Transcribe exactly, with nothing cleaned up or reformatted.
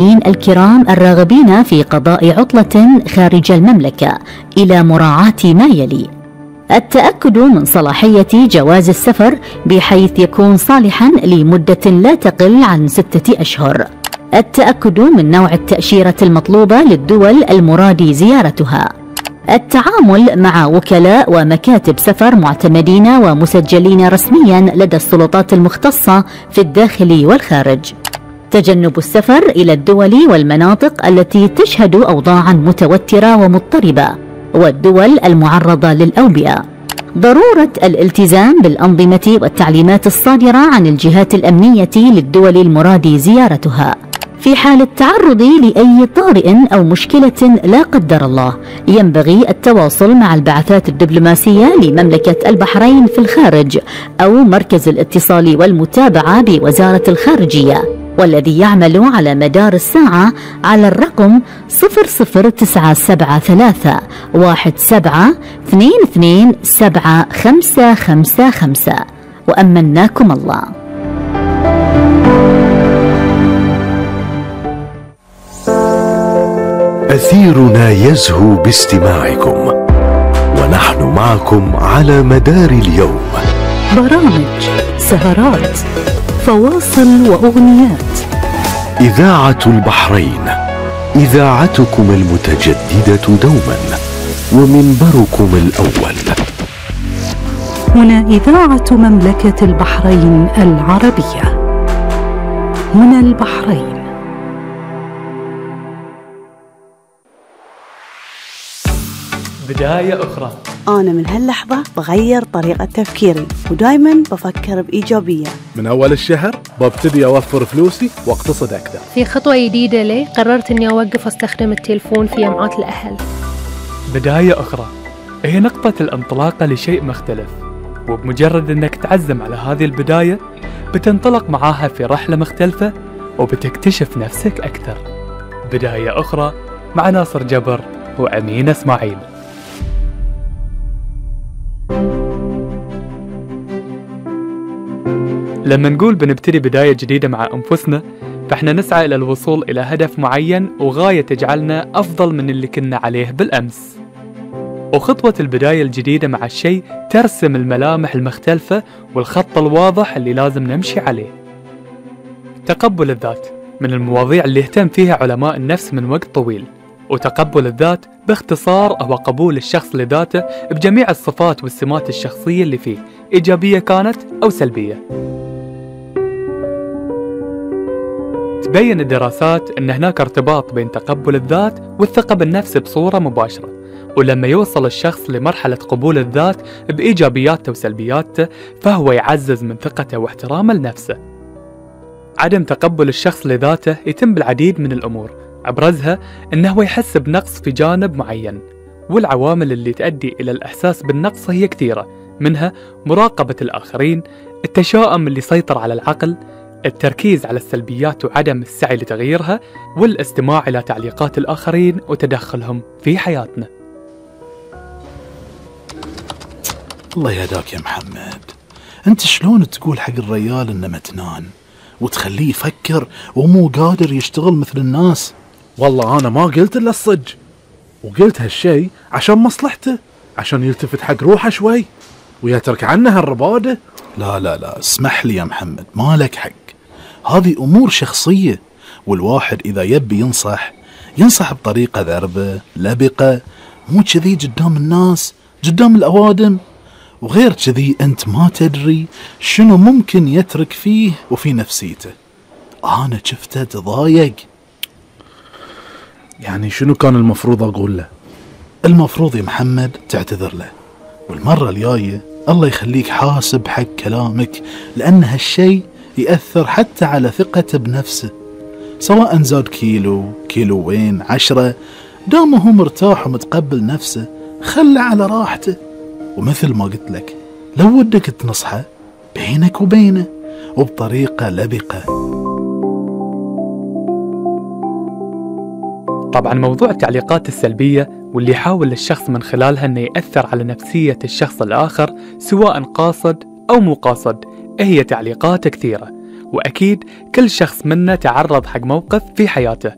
الكرام الراغبين في قضاء عطلة خارج المملكة إلى مراعاة ما يلي: التأكد من صلاحية جواز السفر بحيث يكون صالحا لمدة لا تقل عن ستة أشهر، التأكد من نوع التأشيرة المطلوبة للدول المراد زيارتها، التعامل مع وكلاء ومكاتب سفر معتمدين ومسجلين رسميا لدى السلطات المختصة في الداخل والخارج، تجنب السفر إلى الدول والمناطق التي تشهد أوضاعا متوترة ومضطربة والدول المعرضة للأوبئة، ضرورة الالتزام بالأنظمة والتعليمات الصادرة عن الجهات الأمنية للدول المراد زيارتها. في حال التعرض لأي طارئ أو مشكلة لا قدر الله، ينبغي التواصل مع البعثات الدبلوماسية لمملكة البحرين في الخارج أو مركز الاتصال والمتابعة بوزارة الخارجية، والذي يعمل على مدار الساعة على الرقم صفر صفر تسعة سبعة ثلاثة واحد سبعة اثنين اثنين سبعة خمسة خمسة خمسة. وأمناكم الله. أثيرنا يزهو باستماعكم، ونحن معكم على مدار اليوم. برامج، سهرات، فواصل وأغنيات. إذاعة البحرين، إذاعتكم المتجددة دوما ومنبركم الأول. هنا إذاعة مملكة البحرين العربية، هنا البحرين. بداية أخرى. أنا من هاللحظة بغير طريقة تفكيري ودايما بفكر بإيجابية. من أول الشهر ببتدي أوفر فلوسي واقتصد أكثر. في خطوة جديدة لي قررت أني أوقف أستخدم التلفون في جمعات الأهل. بداية أخرى هي نقطة الانطلاقة لشيء مختلف، وبمجرد أنك تعزم على هذه البداية بتنطلق معاها في رحلة مختلفة وبتكتشف نفسك أكثر. بداية أخرى مع ناصر جبر وأمين إسماعيل. لما نقول بنبتدي بداية جديدة مع أنفسنا، فإحنا نسعى إلى الوصول إلى هدف معين وغاية تجعلنا أفضل من اللي كنا عليه بالأمس. وخطوة البداية الجديدة مع الشيء ترسم الملامح المختلفة والخط الواضح اللي لازم نمشي عليه. تقبل الذات من المواضيع اللي اهتم فيها علماء النفس من وقت طويل، وتقبل الذات باختصار هو قبول الشخص لذاته بجميع الصفات والسمات الشخصية اللي فيه، إيجابية كانت أو سلبية. تبين الدراسات أن هناك ارتباط بين تقبل الذات والثقة بالنفس بصورة مباشرة، ولما يوصل الشخص لمرحلة قبول الذات بإيجابياته وسلبياته فهو يعزز من ثقته واحترامه لنفسه. عدم تقبل الشخص لذاته يتم بالعديد من الأمور، أبرزها أنه يحس بنقص في جانب معين، والعوامل اللي تؤدي إلى الإحساس بالنقص هي كثيرة، منها مراقبة الآخرين، التشاؤم اللي يسيطر على العقل، التركيز على السلبيات وعدم السعي لتغييرها، والاستماع إلى تعليقات الآخرين وتدخلهم في حياتنا. الله يهداك يا محمد، أنت شلون تقول حق الرجال إنه متنان وتخليه يفكر ومو قادر يشتغل مثل الناس؟ والله أنا ما قلت إلا الصج، وقلت هالشي عشان مصلحته، عشان يلتفت حق روحه شوي ويترك عنه هالربادة. لا لا لا اسمح لي يا محمد، ما لك حق، هذه أمور شخصية، والواحد إذا يبي ينصح ينصح بطريقة ذربة لبقة، مو كذي قدام الناس قدام الأوادم. وغير كذي أنت ما تدري شنو ممكن يترك فيه وفي نفسيته. أنا شفته تضايق. يعني شنو كان المفروض أقول له؟ المفروض يا محمد تعتذر له، والمرة الجاية الله يخليك حاسب حق كلامك، لأن هالشي يأثر حتى على ثقته بنفسه، سواء زاد كيلو كيلوين عشرة، دامه هو مرتاح ومتقبل نفسه خله على راحته. ومثل ما قلت لك، لو ودك تنصحه بينك وبينه وبطريقة لبقة. طبعا موضوع التعليقات السلبية واللي يحاول الشخص من خلالها أنه يأثر على نفسية الشخص الآخر سواء قاصد أو مو قاصد، هي تعليقات كثيرة، وأكيد كل شخص منا تعرض حق موقف في حياته